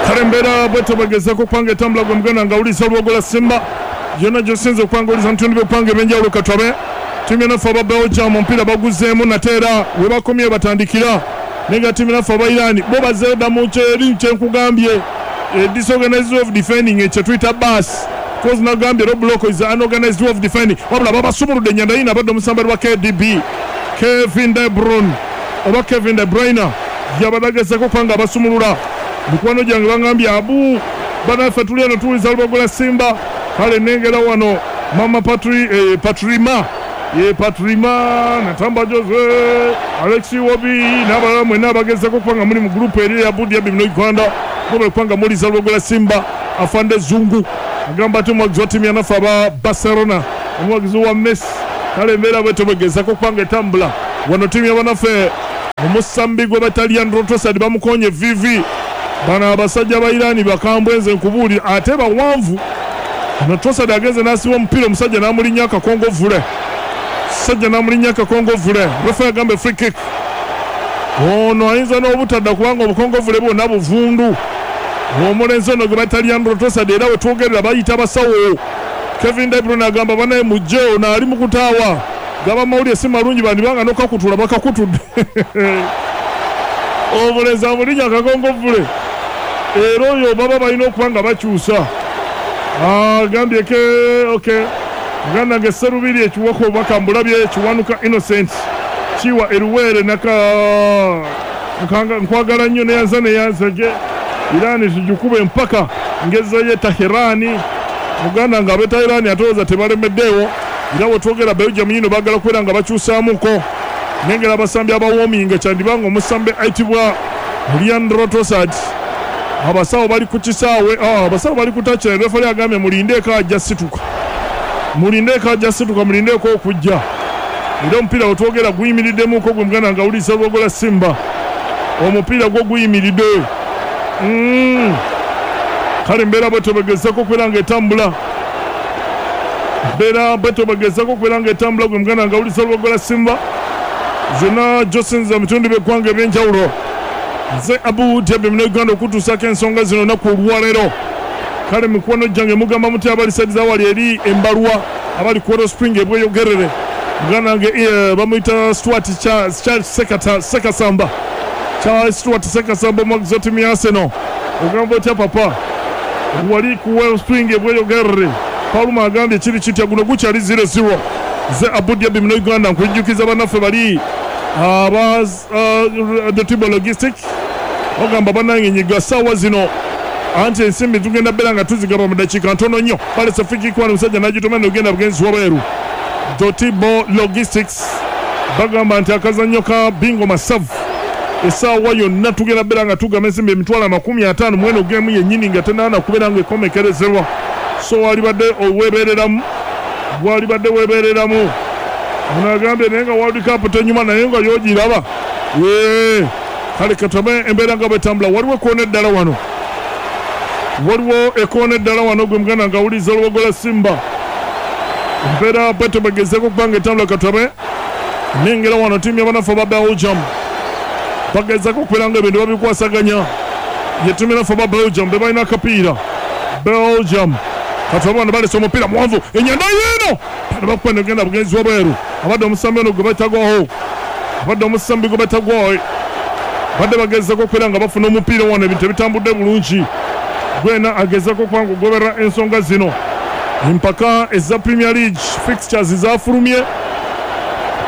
Kale embeera bwetyo bwegezako okubanga etambula, gwe muganda nga awuliriza Olwogola Simba yonna gyosinze okubanga owuliza mutundu by'okwanga ebyenjawulo. Katwabe ttiimu yanaffe aba Belgium omupiira baguzeemu nate era webakomye batandikira, naye nga ttiimu yanaffe aba Iran bo bazzeeyo dda mu kyeri kyenkugambye, disorganized way of defending, ekyo tuyita bus cause nagambye low block is unorganized way of defending. Wabula babasumuludde enyanda yino abadde omusambali wa KDB Kevin De Bruyne oba Kevin De Bruyne yabadde agezako okuba nga abasumulula. Mikwano gyange bangambye abu banaffe tuli eno tuwuliza Lubogola Simba. Kale nengera wano mama Patri, Patrima ye Patrima Natamba Jose Alex Wobi n'abalala mwenna abagezako okuba nga muli mu gurupu eri eya Budiabi muno Uganda, mubale kubanga muwuliza Lubogola Simba. Afande Zungu agamba ati omuwagizi wa ttiimu yanaffe aba Barcelona, omuwagizi wa Messi. Kale embeera bwetyo bwegezako okuba nga etambula wano. Ttiimu yabanaffe omusambi gwe bata Leandro Trossard bamukonye vivi. Bano abasajja ba Iran bakambwe, nze nkubuulira, ate bawanvu. Ono Trossard agenze n'asiba omupiira, omusajja n'amulinnya akakongovvule, sajja n'amulinnya akakongovvule. Refa yagamba free kick. Ono ayinza n'obutadda kubanga obukongovvule bwonna buvundu. Omulenzi ono gwe bayita Leandro Trossard, era wetwogerera bayita basawo. Kevin De Bruyne agamba banaye mujje, ono ali mu kutaawa gaba mawulire si malungi, bandibanga n'okakutula bakakutudde. Omulenzi amulinnya akakongovvule, era oyo baba balina okuba nga bakyusa. Agambye ke okay muganda nge Serubiri ekiwoko obubaka mbulabye. Kiwanuka Innocent Kiwa eruweere naka nkwagala nnyo neyanza neyanzege Irani tugikube empaka ngezeyo Tahirani. Muganda nga ab'e Tahirani atowooza tebalemeddeewo. Era wetwogera Belgium yino baagala kubeera nga bakyusaamuko nengera abasambi abawoominga, kyandiba nga omusambi ayitibwa Leandro Trossard. Abasawo bali ku kisaawe, abasawo bali ku touchline. Refali agambye mulindeeko ajja situka, mulindeeko ajja situka, mulindeeko okujja. Era omupiira wetwogera guyimiriddemuko, gwe muganda nga awuliriza Lwogola Simba, omupiira gwo guyimiridde. Kale embeera bwetyo bwegezako okubeera nga etambula, mbeera bwetyo bwegezako okubeera nga etambula, gwe muganda nga awuliriza Lwogola Simba zonna gyosinza mu bitundu by'eggwanga ebyenjawulo. Nze Abu Diaby Munnayuganda okutuusaako ensonga zino olunaku olwaleero. Kale mikwano gyange mugamba mutya abali side za wali eri embalwa, abali ku Spring ebweyogerere? Muganda wange bamuyita Stuart Charles Sekasamba, Charles Stuart Sekasamba, omuwagizi wa ttiimu ya Arsenal, ogamba otya papa wali ku Wellspring ebweyogerere? Paluma agambye kiri kitya, guno gukyali 0-0. Nze Abu Diaby Munnayuganda nkujjukiza bannaffe bali aba Dotibo Logistic bagamba bannange nyiga ssaawa zino, anti ensimbi tugenda beera nga tuzigaba mu dakiika ntono nnyo. Balese free kick wano, omusajja n'agitomera negenda bugenzi wabweru. Dotibo Logistics bagamba nti akazannyo ka bingo masavu, essaawa yonna tugenda beera nga tugaba ensimbi 50,000 mweno geemu yennyini nga tenaana kubeera nga ekomekerezebwa. So walibadde oweebereramu, walibadde weebereramu. Ono agambye naye nga World Cup tenyuma, naye nga yogiraba. Kale katabe embeera nga bwetambula. Waliwo ekoona eddala wano, waliwo ekoona eddala wano, gwe muganda nga awuliriza Olubogola Simba, embeera bwetyo bwegezeeko okuba nga etambula. Katabe nengera wano ttiimu y'abanafu aba Belgium bagezaako okubeera nga ebintu babikwasaganya. Ye ttiimu y'abanafu aba Belgium be balina akapiira. Belgium katabe wano balese omupiira muwanvu, enyanda yiino bakuba negenda bugenzi wabweru. Abadde omusambi ono gwe batagwaho, abadde omusambi gwe batagwaho, badde bagezako okubeera nga bafuna omupiira wano, ebintu ebitambudde bulungi. Gwena agezako okuba nga ogoberera ensonga zino, empaka eza Premier League fixtures zafulumye,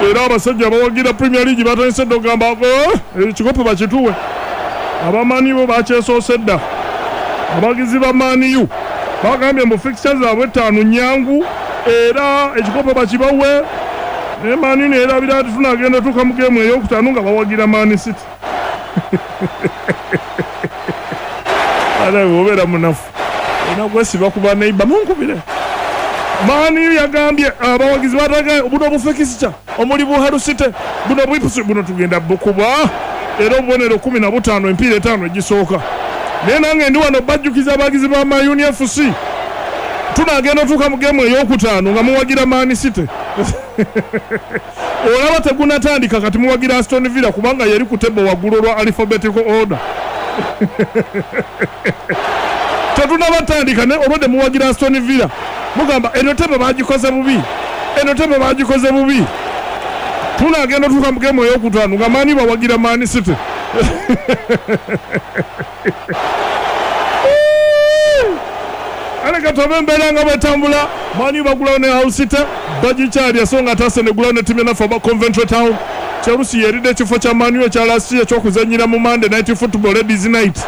era abasajja abawagira Premier League batandise dda okugamba ekikopo bakituwe. Abamanyi bo bakyesoose dda. Abawagizi ba Man U bagambye mbu fixtures zaabwe 5 nyangu, era ekikopo bakibawe. Naye Man U neyerabira nti tunagenda otuuka mu geemu eyokutaano nga bawagira Man City. Ate bw'obeera munafu olina kwesiba ku baneiba munkubire. Man U yagambye abawagizi bataga buno bufekisica omuli bu Hull City, buno bwipusi buno tugenda bukuba, era obubonero 15 empiira 5 egisooka. Naye nange ndi wano bajjukiza abawagizi ba Man U FC, tunagenda otuuka mu geemu eyokutaano nga muwagira Man City. Olaba tegunatandika kati muwagira Aston Villa kubanga yeri ku table waggulu olwa alphabetical order. Tetunabatandika naye olwedde muwagira Aston Villa, mugamba eno tebe bagikoze bubi, eno tebe bagikoze bubi. Tunagenda otuuka mu geemu eyokutaano nga maani bawagira Man City. Ale katobe embeera nga bwetambula, Mani bagulawo ne Hull City bagikyalya, so nga ate Arsenal egulawo ne ttiimu enaffe aba Coventry Town. Chelsea yeridde ekifo kya Man U ekya last year eky'okuzannyira mu Monday Night Football Ladies Night,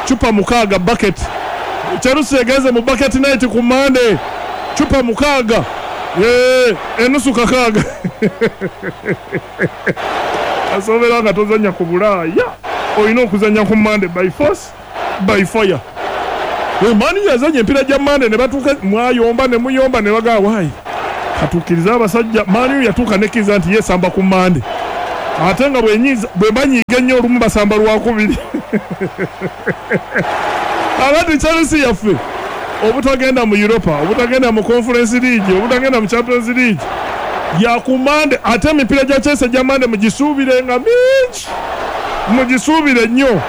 cupa mukaaga bucket. Chelsea egenze mu bucket night ku Monday, cupa mukaaga, enusu kakaaga. Asoobera nga tozannya ku Bulaaya, olina okuzannya ku Monday by force by fire. Man U yazannya emipiira gya Monday ne batuuka mwayomba ne muyomba ne bagamba waayi katuukirize abasajja. Man U yatuuka nekkiriza nti yeesamba ku Monday, ate nga bwe banyiiga ennyo olumu basamba lwakubiri. Abati Chelsea yaffe obutagenda mu Europa, obutagenda mu Conference League, obutagenda mu Champions League ya ku Monday. Ate emipiira gya Chelsea gya Monday mugisuubire nga mingi, mugisuubire nnyo.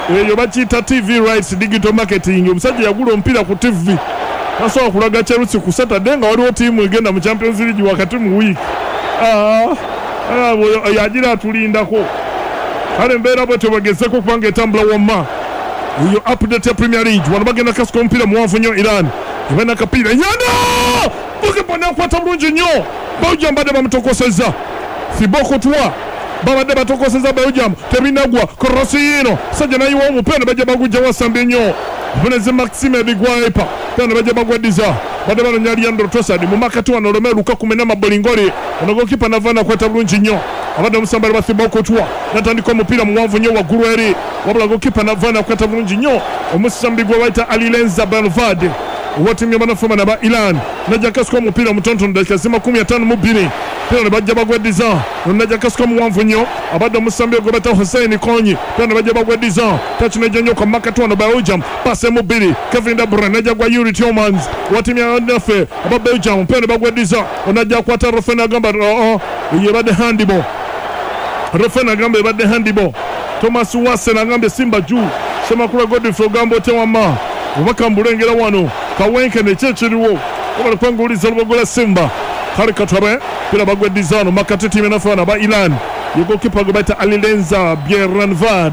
Eyo bakiyita TV rights, digital marketing. Omusajja yagula omupiira ku TV, tasobola kulaga Chelsea ku Saturday nga waliwo ttiimu egenda mu Champions League wakati mu wiiki. Yagira atulindako. Kale embeera bwetyo bagezeko kubanga etambula wamma. Eyo update ya Premier League. Wano bagenda kasika omupiira muwanvu nnyo Iran. Eba nakapiira. Yana! Goalkeeper n'akwata bulungi nnyo. Belgium badde bamutokosezza. Thibaut Courtois babadde batokosezza Belgium, tebinagwa. Cross yiino, sajja nayiwa omupiira ne bajja bagujja wasambye nnyo. Omunezi Maxime Bigwaipa pera ne bajja bagweddiza. Badde banoonya Leandro Trossard mu makati wano Romelu Lukaku mena mabolingoli. Ono goalkeeper nava nakwata bulungi nnyo. Abadde omusambali wa Thibaut Courtois natandika omupiira muwanvu nnyo waggulu eri, wabula goalkeeper nava nakwata bulungi nnyo. Omusambi gwe bayita Alilenza Belvade owa ttiimu y'abannaffe bano aba Iran najja akasuka omupiira omutonotono dakika zi 52, pera ne bajja bagweddiza. Najja akasuka muwanvu nnyo, abadde omusambi gwe bayita Hussein Konyi, pera ne bajja bagweddiza. Takinejja nnyo kwa makati wano Belgium, pasi emu bbiri Kevin De Bruyne najja gwa Yuri Tielemans owa ttiimu y'abannaffe aba Belgium, pera ne bagweddiza. Onajja akwata Rofen agamba oo ebadde handball. Rofen agamba ebadde handball. Thomas Wassen agambye Simba juu. Semakula Godfrey ogamba otya wamma? Obubaka mbulengera wano Kawenkene ki ekiriwo obala kwanguliza olubogo lwa Simba. Kale katabe pira bagweddiza wano makati ttiimu enaffe bano aba Iran. Ye goalkeeper gwe bayita Alilenza Bieranvad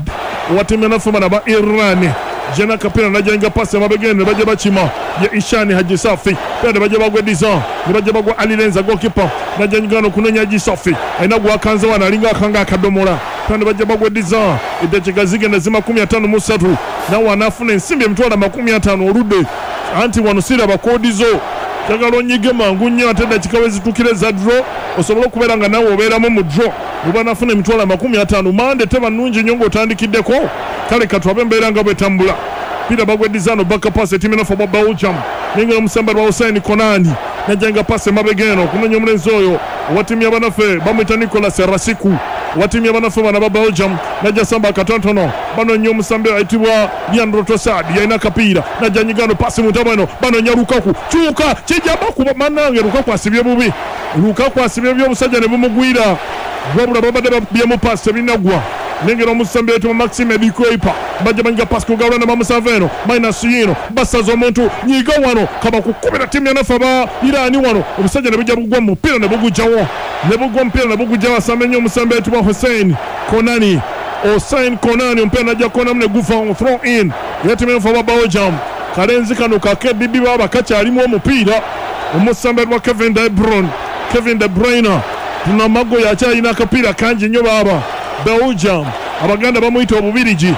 owa ttiimu enaffe bano aba Iran. Jena kapira najja pasi amabegeni ne bajja bakima ye Ishani Haji Safi, pira ne bajja bagweddiza ne bajja bagwa Alilenza goalkeeper najja nyigano kunoonya Haji Safi alina gwakanze wano alinga akanga akadomola, pira ne bajja bagweddiza. Eddakiika zigenda zi 53, nawe anaafuna ensimbi 250,000 oludde anti wano siraba koodi zo, njagala onyige mangu nnyo ate eddakiika we zituukira eza draw osobole okubeera nga nawe obeeramu mu draw oba nafuna 250,000. Mande teba nnungi nnyo ng'otandikiddeko. Kale katwabe embeera nga bwetambula. Pira bagweddiza no baka pass ettiimu enaffe aba Belgium. Nengera omusambali wa Hussein Konani najja nga pasi emabega eno okunoonya omulenzi oyo owa ttiimu y'abannaffe bamuyita Nicolas Rasiku owa ttiimu y'abannaffe bano aba Belgium najja samba akatonotono banoonya omusambi ayitibwa Leandro Trossard yalina akapiira najja nyigano pasi mu ntabwe eno banoonya Lukaku kyuka kijja bakuba mannange Lukaku asibye bubi, Lukaku asibye bubi omusajja ne bumugwira wabula babadde bakubyemu pasi tebinagwa. Nengera omusambi ayitibwa Maxime Bikoipa bajja banyiga pasi kugawula ne bamusava eno minus yino basaza omuntu nyiga wano kaba kukubira ttiimu yanaffe aba Iran wano omusajja ne bujja bugwa mu mupiira ne bugujjawo ne bugwa omupiira ne bugujjawo asambe nnyo omusambi ayitibwa Hussein Konani. Hussein Konani omupiira najja konamu ne guva throw in era ttiimu yanaffe aba Belgium. Kalenzi kano ka KDB baba kakyalimu omupiira omusambi ayitibwa Kevin De Bruyne, Kevin De Bruyne tunamago yakyalina akapiira kangi nnyo baba Belgium. Abaganda bamuyita Obubirigi,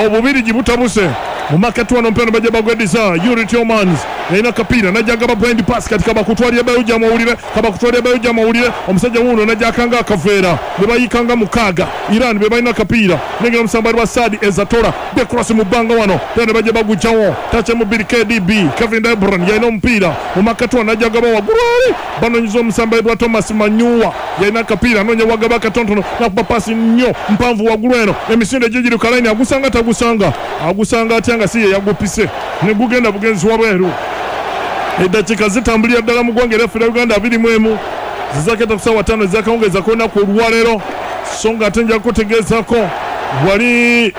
Obubirigi butabuse mu makati wano omupiira ne bajja bagweddiza Yuri Tielemans yalina akapiira najja agaba blind pass kati kabakutwalira Belgium owulire, kabakutwalira Belgium owulire. Omusajja wuuno najja akanga akaveera ne bayikanga mukaaga Iran be balina akapiira. Nengera omusambali wa Sadi Ezatola be cross mu bbanga wano pera ne bajja bagujjawo tache mu bbiri KDB Kevin De Bruyne yalina omupiira mu makati wano najja agaba waggulu eri banonyiza omusambali wa Thomas Manyuwa yalina akapiira anoonya wagaba akatonotono nakuba pasi nnyo mpanvu waggulu eno emisinde gigiri ku kalayini agusanga tagusanga agusanga atya nga si ye yagupise ne gugenda bugenzi wabweru. Eddakiika zitambulira ddala mu ggwanga eryaffe erya Uganda 21 zizaketa ku ssaawa 5 ez'akawungeezi ak'olunaku olwaleero, so nga ate nja kukutegeezaako wali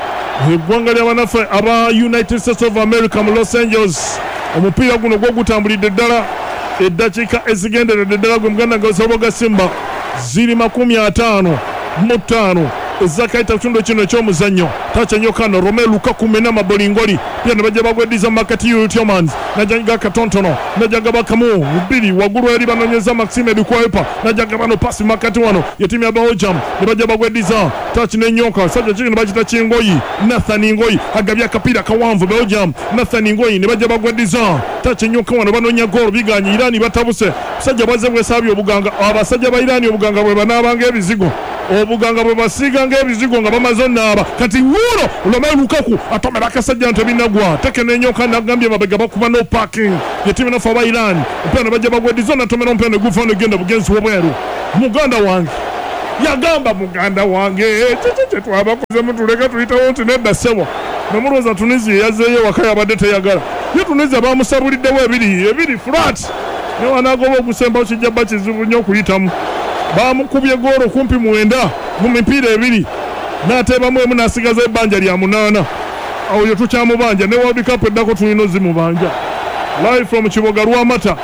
Eggwanga ly'abanaffe aba United States of America mu Los Angeles. Omupiira guno gwo gutambulidde ddala eddakiika ezigenderedde ddala gwe muganda nga Lusoboga Simba ziri 55 ezakayita kitundu kino eky'omuzannyo. Takyenyo kano Romelu Lukaku mena mabolingoli pia ne bajja bagweddiza Makati Tielemans najaga katontono najaga bakamu bbiri waggulu eri banonyeza Maxime Dukwepa najaga bano pasi Makati wano ye ttiimu ya Belgium ne bajja bagweddiza touch n'enyoka sajja kiki ne bakita Kingoyi Nathan Ngoyi agabye akapiira kawanvu Belgium Nathan Ngoyi ne bajja bagweddiza touch enyoka wano banonya goal biganye Iran batabuse busajja bwazze bwesaabye obuganga abasajja ba Iran obuganga bwe banaabanga ebizigo obuganga bwe basiiga ng'ebizigo nga bamaze onaaba kati wuuno Romelu Lukaku atomera akasajja nti ebinagwa teke n'enyoka nagambye mabega bakuba no parking ye ttiimu naffe aba Iran omupiira ne bajja bagweddiza natomera omupiira ne guva negenda bugenzi w'obweru. Muganda wange yagamba muganda wange kiki kye twabakoze mutuleke tuyitewo nti nedda ssebo nemulowooza Tunisia yazzeeyo ewaka yabadde teyagala ye Tunisia bamusabuliddewo ebiri ebiri flat ne wanaagoba ogusembawo kijja bba kizibu nnyo okuyitamu. Baamukubye goolo kumpi 9 mu mipiira ebiri n'ateebamu emu n'asigaza ebbanja lya 8. Oyo tukyamubanja ne World Cup eddako tulina ozimubanja. Live from Kiboga Lwamata.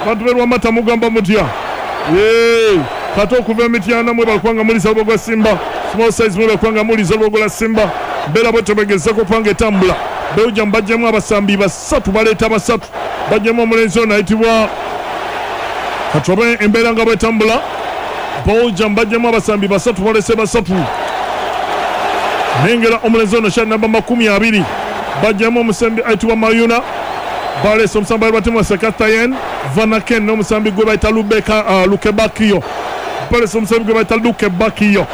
Bantu b'e Lwamata mugamba mutya? Yee, kate okuva e Mityana mwebale kubanga muliza olubogo lwa Simba. Small size mwebale kubanga muliza olubogo lwa Simba. Mbeera bwetyo bwegezeko okubanga etambula. Belgium bajjemu abasambi basatu baleeta basatu. Bajjemu omulenzi ono ayitibwa Katobe embeera nga bwetambula. Belgium bajjemu abasambi basatu balese basatu. Nengera omulenzi ono shati namba 20 bajjemu omusambi ayitibwa Mayuna. Balese omusambi ayitibwa Timothy Katayen Vanaken n'omusambi gwe bayita Lubeka Lukebakio. Balese omusambi gwe bayita Lukebakio.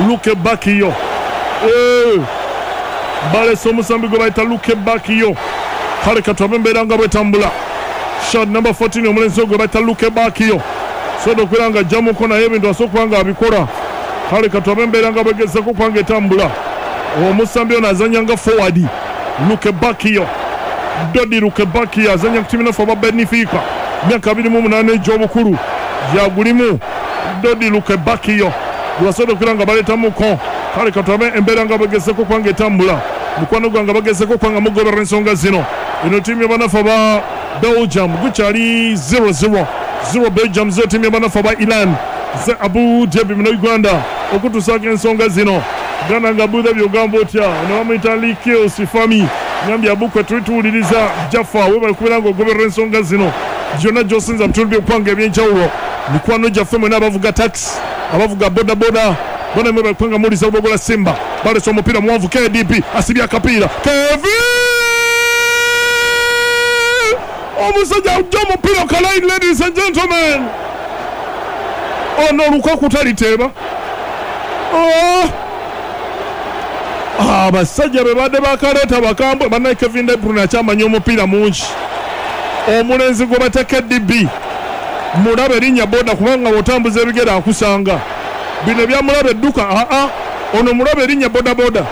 Lukebakio. Balese omusambi gwe bayita Lukebakio. Kale katwabe embeera nga bwetambula. Shot number 14 omulenzi gwe bayita Lukebakio. Soda okubeera nga ajjamuko naye ebintu asobola okuba nga abikola. Kale katwabe embeera nga bwegezeko okuba nga etambula. Omusambi ono azannya nga forward Lukebakio. Dodi Lukebakio azannya ku ttiimu naffe aba Benfica. Myaka 28 egy'obukulu gyagulimu Dodi Lukebakio. Gwebasobola okubeera nga baleetamuko. Kale katwabe embeera nga bwegezeko okuba nga etambula. Mukwano gwange bagezeko okuba nga mugoberera ensonga zino. Eno ttiimu y'abanafu aba Belgium gukyali 0-0. 0 Belgium 0 ttiimu y'abanafu aba Iran. Nze Abu Dhabi muno Uganda okutuusaako ensonga zino. Gana nga Abu Dhabi ogamba otya? Ono bamuyita Likil Sifami. Ngambye Abu kwe tuli tuwuliriza Jaffa webale kubeera ng'ogoberera ensonga zino gyonna gy'osinza mu bitundu by'eggwanga eby'enjawulo. Mikwano gyaffe mwena abavuga taxi, abavuga bodaboda bona mwebale kuba nga muwuliriza Lubogola Simba. Balese omupiira muwanvu KDB asibye akapiira Kevin! Omusajja ajja omupiira ku line ladies and gentlemen. Ono Lukaku taliteeba. Oh! Abasajja be badde bakaleeta bakambwe bannaye Kevin De Bruyne akyamanya omupiira mungi. Omulenzi gwe bata KDB mulabe erinnya boda kubanga bw'otambuza ebigere akusanga. Bino ebya mulabe dduka aa ono mulabe erinnya boda boda.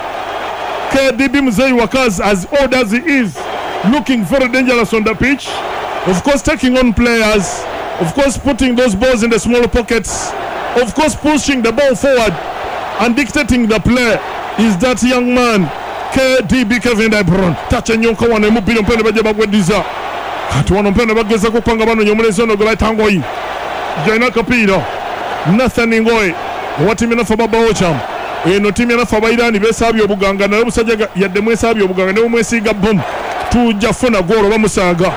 KDB Mzee Wakaz as old as he is looking very dangerous on the pitch. Of course taking on players, of course putting those balls in the small pockets, of course pushing the ball forward and dictating the play is that young man KDB Kevin De Bruyne. Touch enyonka wano emubbiri omupiira ne bajja bagweddiza. Kati wano omupiira ne bagezako okuba nga banoonya omulenzi ono gwe bayita Ngoyi. Yalina akapiira Nathan Ngoyi owa ttiimu yanafe aba Belgium. Eno ttiimu yanafe aba Iran beesaabye obuganga naye obusajja yadde mwesaabye obuganga ne bwemwesiiga bbomu tujja funa goolo bamusaaga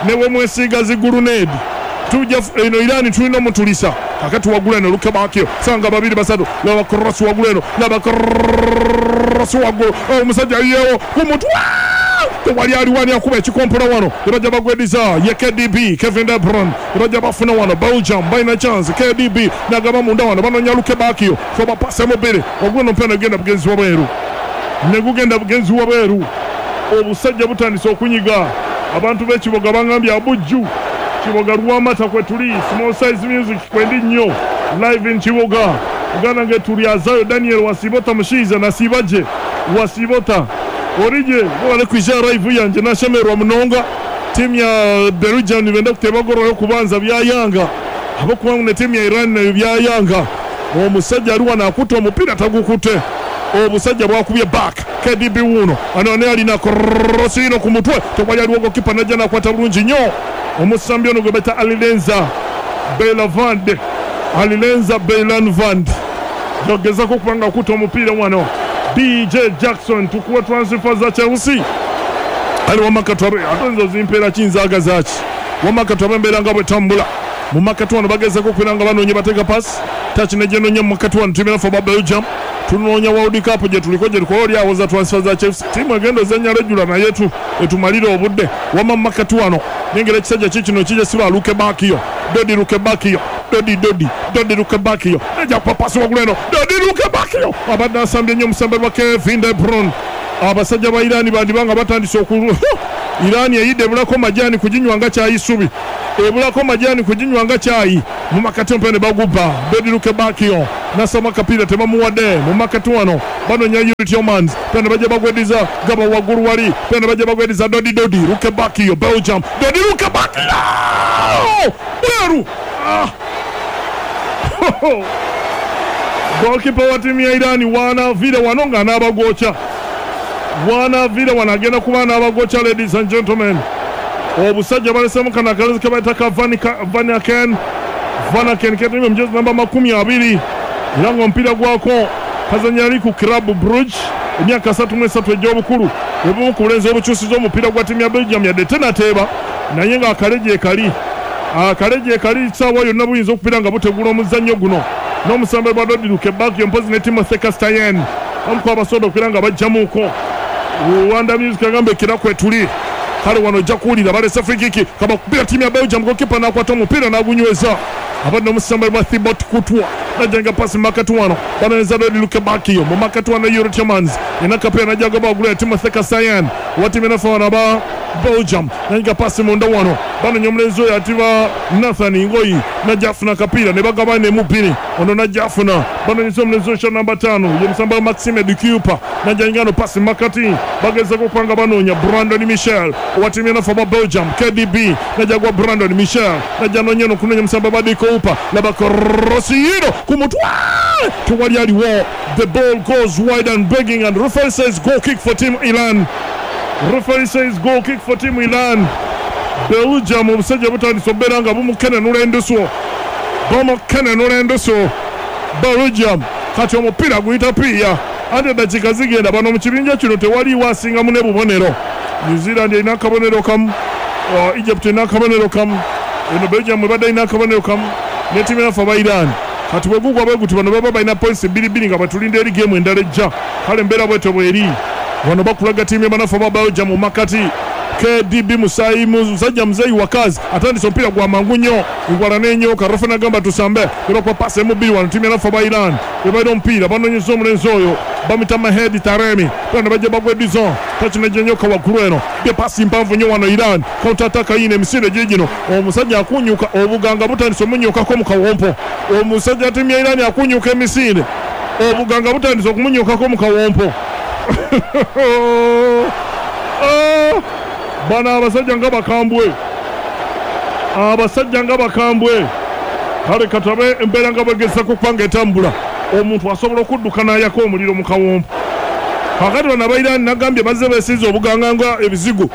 ne bwemwesiiga zi guluneedi tujja eno Iran tulina omutulisa. Kakati waggulu eno Lukebakio sanga babiri basatu laba cross waggulu eno laba cross waggulu omusajja ayiyeewo ku mutwe tewali aliwo ani akuba ekikompola wano ne bajja bagwediza ye KDB Kevin De Bruyne ne bajja bafuna wano Belgium balina chance KDB nagaba munda wano banonya Lukebakio soba pase mu bbiri waggulu eno omupiira negugenda bugenzi wabweru negugenda bugenzi wabweru. Obusajja butandise okunyiga abantu b'ekiboga bangambye abujju Kiboga Lwamata kwe tuli small size music kwendi nnyo live in Kiboga Uganda nge tuli azayo Daniel Wasibota mushiiza nasiibaje Wasibota orije webale kwija live yangye nashemererwa munonga. Tiimu ya Belgium nibenda kuteeba goolo y'okubanza byayanga ahabw'okuba ngu ne tiimu ya Iran nayo byayanga. Omusajja ali wano akutte omupiira tagukute. Obusajja bwakubye back KDB wuuno ano naye alina krosi ino ku mutwe, tewali aliwo, gokipa najja nakwata bulungi nnyo. Omusambi ono gwe bayita Alilenza Beiranvand, Alilenza Beiranvand yogezako okuba nga akuta omupiira wano. BJ Jackson, tukuwa transfer za Chelsea ali wamakati abe ate nzo zimpeera kinzaaga zaki wamakati abe embeera nga bwetambula mu makati wano. Bagezako okubeera nga banoonya, bateeka pass touch nejenoonya mu makati wano. Tiimu yaffe aba Belgium tunoonya World Cup gye tuliko, gye tukola oli awoza transfer za Chelsea. Tiimu egenda ozannya regular naye etumalire obudde. Wama mu makati wano nengera ekisajja kikino kijja siba Lukebakio, Dodi Lukebakio, Dodi, Dodi, Dodi Lukebakio nejja kupa pasi waggulu eno. Dodi Lukebakio abadde asambye nnyo omusambe lwa Kevin De Bruyne. Abasajja ba Irani bandiba nga batandise oku Irani eyidde, ebulako majaani kuginywa nga kyayi, subi ebulako majaani kuginywa nga kyayi. Mu makati omupiira ne bagubba. Dodi Lukebakio nasama akapiira, tebamuwadde. Mu makati wano banonya Youri Tielemans, pera ne bajja bagwediza gaba waggulu wali, pera ne bajja bagwediza Dodi, Dodi Lukebakio, Belgium, Dodi Lukebakio bweru. Ah! Goalkeeper wa ttiimu ya Irani wanaviire wano nga anaabagwokya, wanaviire wano agenda kuba anaabagwokya. Ladies and gentlemen, obusajja balesemu kano akalenzi ke bayita ka Vanaken, Vanaken ketumye mujezi namba 20, era nga omupiira gwako kazanya ali ku Club Brugge, emyaka 33 egy'obukulu. Obumu ku bulenzi obukyusiza omupiira gwa ttiimu ya Belgium, yadde tenateeba, naye ng'akale gyekali, akale gyekali, saawa yonna buyinza okubeera nga butegula omuzannyo guno n'omusambe gwa Dodi Lukebakio, mpozi ne Timothy Castagne, omu ku abasobola okubeera nga bajjamuuko. Rwanda Music agamba ekira kwetuli. Kale wano ojja kuwulira balese free kick, kabakubira ttiimu ya Belgium. Gokipa n'akwata omupiira n'agunyweza. Abadde omusambe gwa Thibaut Courtois najjanga pasi makati wano, banonyeza Dodi Lukebakio mu makati wano. Youri Tielemans ina kapiira najjaga bagulu ya Timothy Castagne wa ttiimu enafe wano aba Belgium, nayiga pasi munda wano, banonya omulenzi oyo atiba Nathan Ngoyi, najja afuna akapiira ne bagaba nemubiri ono najja afuna. Banonyeza omulenzi oyo sha namba 5, ye musamba wa Maxime De Cuyper, najja ingano pasi makati, bagezako okuba nga banoonya Brandon Michel owa ttiimu enafe aba Belgium. KDB najja gwa Brandon Michel, najja nonya eno kunonya musamba ba De Cuyper, laba krosino ku mutwe, tewali aliwo. The ball goes wide and begging, and referee says goal kick for team Iran. Referee says goal kick for team Iran. Belgium obusajja butandise okubeera nga bumukenenula endusu, bumukenenula endusu Belgium. Kati omupiira guyita piiya, anti eddakiika zigenda. Bano mu kibinja kino tewaliiwo asingamu ne bubonero. New Zealand erina akabonero kamu, Egypt erina akabonero kamu, eno Belgium ebadde erina akabonero kamu ne ttiimu yaffe aba Iran. Kati bwe gugwa bwe guti, bano baba balina points bbiri bbiri nga batulinda eri geemu endala ejja. Kale embeera bwetyo bweri. Wano bakulaga ttiimu y'abanafu aba Belgium mu makati. KDB musayi musajja muzeeyi wakazi atandise omupiira gwa mangu nnyo, ngwala n'enyoka. Refa nagamba tusambe, nebakuba pasi emu bbiri. Wano ttiimu y'abanafu aba Iran ebalina omupiira, banonyeza omulenzi oyo bamita Mahedi Taremi, pera ne bajja bagwedizo touch nejenyoka waggulu eno bye pasi mpanvu nnyo. Wano Iran counter attack yino, emisinde gigino. Omusajja akunyuka, obuganga butandise omunyukako mu kawompo. Omusajja ttiimu ya Iran akunyuka emisinde, obuganga butandise okumunyukako mu kawompo. Ah! Bano abasajja nga bakambwe, abasajja nga bakambwe. Kale katabe embeera nga bwegezako okuba nga etambula, omuntu asobola okudduka n'ayaka omuliro mu kawompo. Kakati bano abairani nagambye bazze besiiza obuganga nga ebizigo.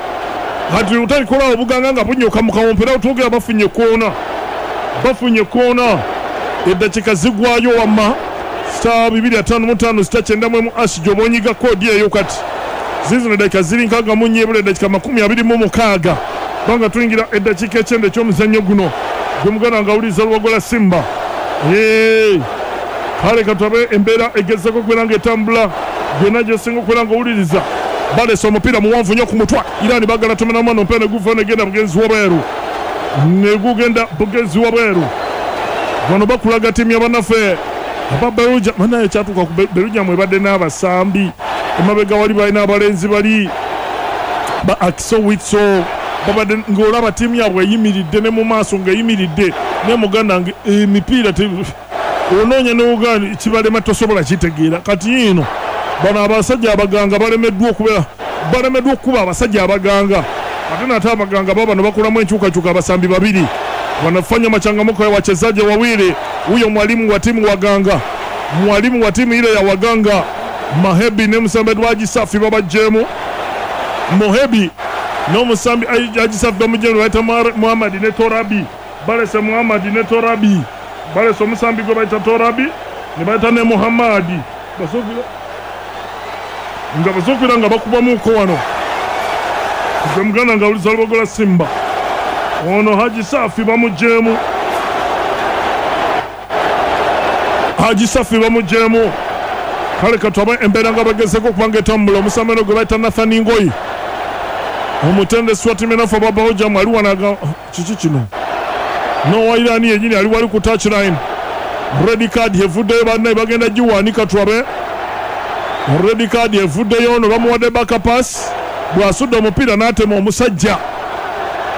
Kati otalikolawo obuganga nga bunyoka mu kawompo, era twogera bafunye koona, bafunye koona, eddakiika zigwayo. Wamma *255 *91# gyoba onyiga koodi eyo. Kati zizino eddakiika ziri 64, ebula eddakiika 26 kubanga tuyingira eddakiika 90 eky'omuzannyo guno gwe muganda nga awuliriza Luwagola Simba. Hey! Kale katabe embeera egezeko okubeera nga etambula gyonna gyosinga okubeera nga owuliriza. Balese omupiira muwanvu nnyo ku mutwa. Irani bagala tomera mwana, omupiira ne guva negenda bugenzi wabweru, negugenda bugenzi wabweru. Wano bakulaga ttiimu y'abannaffe aba Belgium. Banaye kyatuuka ku Belgium ebadde n'abasambi emabega wali, balina abalenzi bali ba Axel Witsel, babadde ng'olaba ttiimu yaabwe eyimiridde ne mu maaso ng'eyimiridde, naye muganda nge emipiira onoonya ne kibalema, tosobola kitegeera. Kati ino bano abasajja abaganga balemeddwa okubeera, balemeddwa okukuba abasajja abaganga. Ate nate abaganga babano bakolamu enkyukakyuka, abasambi babiri wanafanya machangamuko ya wachezaji wawili. Huyo mwalimu wa timu waganga, mwalimu wa timu ile ya waganga. Mahebi ne musambi Haji Safi babajjeemu. Mohebi n'omusambi Haji Safi bamuggyemu, bayita Muhammad ne Torabi. Balese Muhammad ne Torabi, balese omusambi gwe bayita Torabi ne bayita ne Muhammadi. Nga basookera nga bakubamuuko wano gwe muganda nga awuliza Lubogola Simba. Ono Haji Safi bamuggyemu, Haji Safi bamuggyemu. Kale katwabe embeera nga bagezeko okubanga etambula. Omusambi ono gwe bayita Nathan Ngoyi, omutendesi wa ttiimu enafu aba Belgium, ali wano. Kiki kino? Nowa Iran yenyini ali wali ku touchline. Red card evuddeyo, bannaye, bagenda giwanika. Twabe red card evuddeyo. Ono bamuwadde back pass, bw'asudde omupiira n'atema omusajja.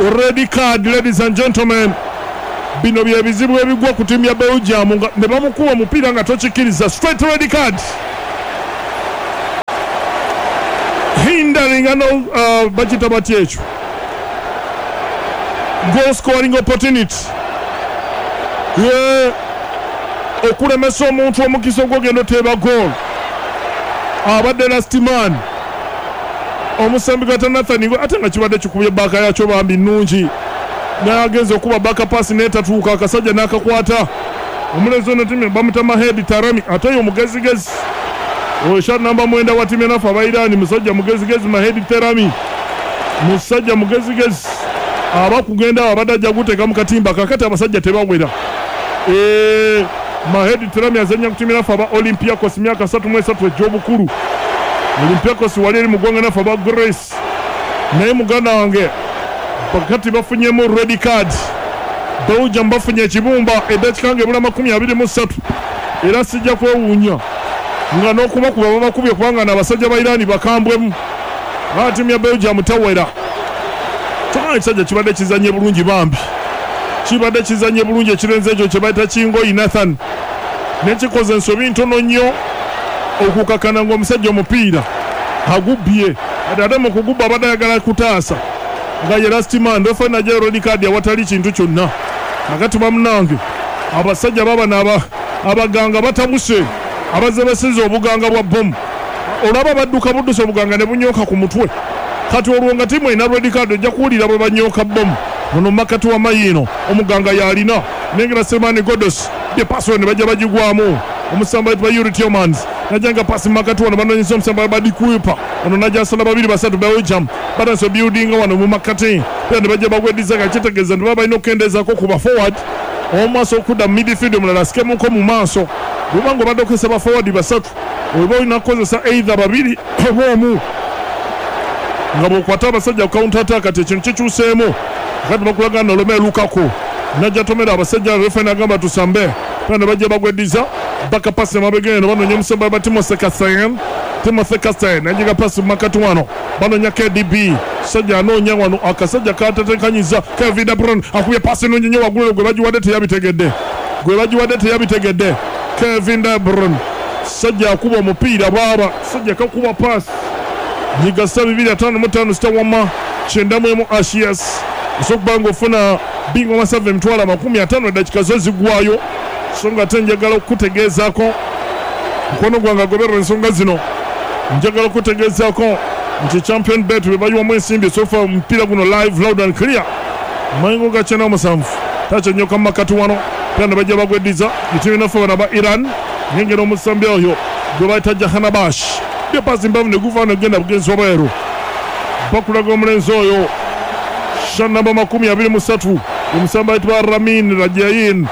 Red card, ladies and gentlemen. Bino bye bizibu ebigwa ku ttiimu ya Belgium, nga ne bamukuba omupiira nga tokikkiriza. Straight red card, hindering ano bakita batya ekyo, goal scoring opportunity ye, okulemesa omuntu omukisa ogwogenda oteeba goal. Abadde last man, omusambi gwata Nathan, ate nga kibadde kikubye back yakyo bambi nnungi, naye agenza okuba back pass netatuuka, akasajja n'akakwata. Omulenzi ono timu bamuta Mahedi Tarami, ate oyo mugezigezi, oyo sha namba 9 wa timu enafu abairani, musajja mugezigezi. Mahedi Terami musajja mugezigezi, aba kugenda awo abadde ajja guteeka mu katimba. Kakati abasajja tebawera. Mahedi Terami azannya ku timu enafu aba Olympiacos, myaka 33 egy'obukulu. Olympiacos wali eri mu ggwanga nafu aba Greece. Naye muganda wange, bakati bafunyemu red card. Belgium bafunye ekibumba eddakiika nga ebula 23, era sijja kwewuunya nga n'okubakuba babakubye, kubanga n'abasajja ba Irani bakambwemu. Aa, ttiimu ya Belgium tawera. Kyokka ekisajja kibadde kizanye bulungi bambi, kibadde kizanye bulungi ekirenzi ekyo kye bayita Kingoyi Nathan, nekikoze ensobi ntono nnyo okukakana ng'omusajja omupiira agubbye. Ate ate mu kugubba abadde ayagala kutaasa nga ye last man, refa najjayo red card awatali kintu kyonna. Kakati bamunange, abasajja babano abaganga batabuse, abazze basiza obuganga bwa bomu, olaba badduka buddusa obuganga ne bunyooka ku mutwe. Kati olwo nga tiimu erina red card, ojja kuwulira bwe banyooka bomu. Ono makati wa mayiino omuganga yalina nengera Semani Godos bye paasi ne bajja bagigwamu. Omusamba ayitibwa Yuri Tielemans najja nga paasi makati wano, banonyesa omusamba Badikuipa. Ono najja asala babiri basatu. Belgium batandise obuildinga wano mu makati era ne bajja bagweddiza, nga kitegeeza nti baba balina okukendeezaako ku ba forward omumaaso okudda mu midfield, omulala asikemuko mu maaso. Bwobanga obadde okozesa ba forward basatu, oba olina kukozesa either babiri oba omu, nga bw'okwata abasajja ku counter attack. Kati ekintu kikyuseemu. Kati bakulaga Romelu Lukaku najja tomera abasajja, refa nagamba tusambe era ne bajja bagweddiza. Back pass emabega eno, banoonya omusamba ba Timothy Castagne. Timothy Castagne najiga pasi makati wano, banoonya KDB. Sajja anoonya wano akasajja katetekanyiza. Kevin De Bruyne akubye pasi nungi nnyo waggulu, gwe bagiwadde teyabitegedde, gwe bagiwadde teyabitegedde. Kevin De Bruyne sajja akuba omupiira bwaba sajja kakuba pasi. Nyiga *255 *191#, osobola okuba nga ofuna bingo masavu 250,000, eddakiika zo ziggwayo. So nga ate njagala okukutegeezaako, mukono gwange agoberera ensonga zino, njagala okutegeezaako nti Champion Bet bwe bayiwamu ensimbi sofa omupiira guno live, loud and clear. Mayengo ga 97 takyenyoka mu makati wano era ne bajja bagweddiza etimu naffe bano aba Iran. Nyengera omusambi oyo gwe bayita Jahanabash, byepasi mbavu ne guva negenda bugenzi wabweru. Bakulaga omulenzi oyo sha namba 23, omusambi ayitibwa Ramin Rajayin,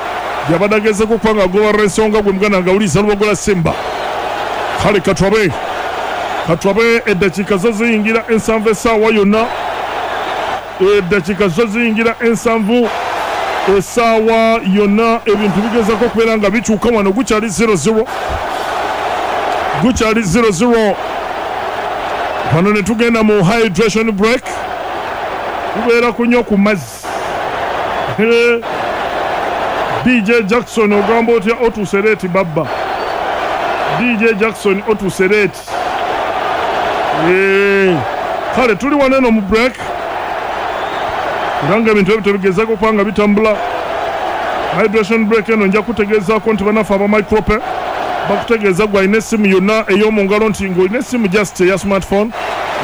yabadde agezeko okuba nga agoberera ensonga. Gwe muganda nga awuliriza Lubogola Simba, kale katwabe katwabe, eddakiika zo ziyingira 70 essaawa yonna, eddakiika zo ziyingira 70 essaawa yonna. Ebintu bigezako okubeera nga bikyuka wano. Gukyali 00, gukyali 00 wano. Ne tugenda mu hydration break, tubeera kunywa ku mazzi. DJ Jackson, ogamba otya? Otuuse late babba. DJ Jackson, otuuse late. Kale tuli wano eno mu break, era nga ebintu ebyo tebigezako okuba nga bitambula. Hydration break eno nja kutegeezaako nti bannaffe aba Micrope Bakutegeeza gwe alina essimu yonna ey'omu ngalo nti ng'olina essimu just eya smartphone,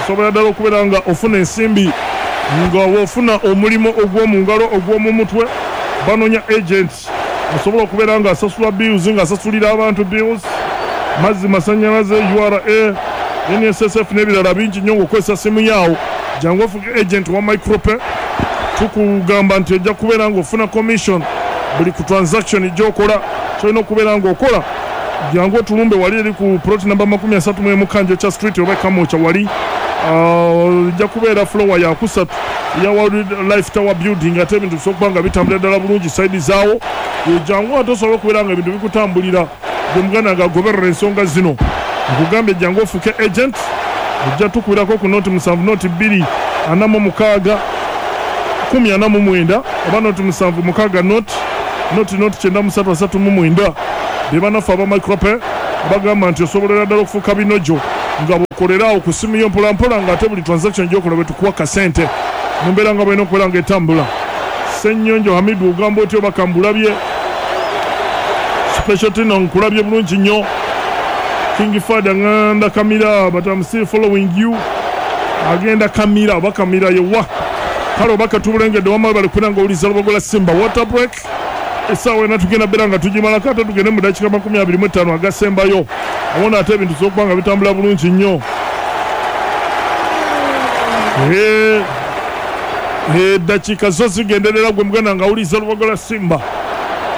osobola ddala okubeera nga ofuna ensimbi nga w'ofuna omulimu ogw'omu ngalo ogw'omu mutwe. Banoonya agent osobola okubeera nga asasula bills, ng'asasulira abantu bills, mazzi, masannyalaze, URA, NSSF n'ebirala bingi nnyo ng'okozesa simu yaawo. Jangu ofuuke agent wa Micropay. Tukugamba nti ojja kubeera ng'ofuna commission buli ku transaction gy'okola. Ky'olina okubeera ng'okola, jangu otulumbe wali eri ku plot namba 31 Kanjokya Street oba e Kamwokya wali. Ojja kubeera floor yakusatu eya World Life Tower Building, ate ebintu bisobola okuba nga bitambulira ddala bulungi side zaawo. Jangu ate osobola okubeera nga ebintu bikutambulira. Gwe muganda nga agoberera ensonga zino, nkugambye jangu ofuuke agent. Ojja tukubirako ku 07 02 46 10 49 oba 0 7 6 0 0 0 93 39. Be bannaffe aba Micropay bagamba nti osobolera ddala okufuuka binojo nga bw'okolera awo ku ssimu yo mpolampola, ng'ate buli transaction gy'okola bwe tukuwa kasente mu mbeera nga bw'olina okubeera ng'etambula. Ssennyonjo Hamidu, ogamba otya? Oba kambulabye Special Tino, nkulabye bulungi nnyo. King Father nganda Kamira, but I'm still following you. Agenda Kamira oba Kamira yewa kale oba katubulengedde wamma bali kubera nga owuliza Lubogola Simba. Water break essaawa ena tugenda beera nga tugimalako, ate tugende mu dakiika 25 agasembayo owona, ate ebintu bisobola okuba nga bitambula bulungi nnyo. Eddakiika zo zigenderera gwe muganda nga awuliza Lubogola Simba.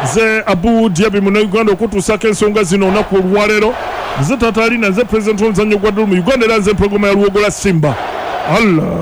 Nze Abu Diaby, Munnayuganda, okutuusaako ensonga zino olunaku olwaleero. Nze Taata Alina, nze pulezidenti w'omuzannyo gwa ddulu mu Uganda, era nze mpologoma ya Luwogola Simba. Allah.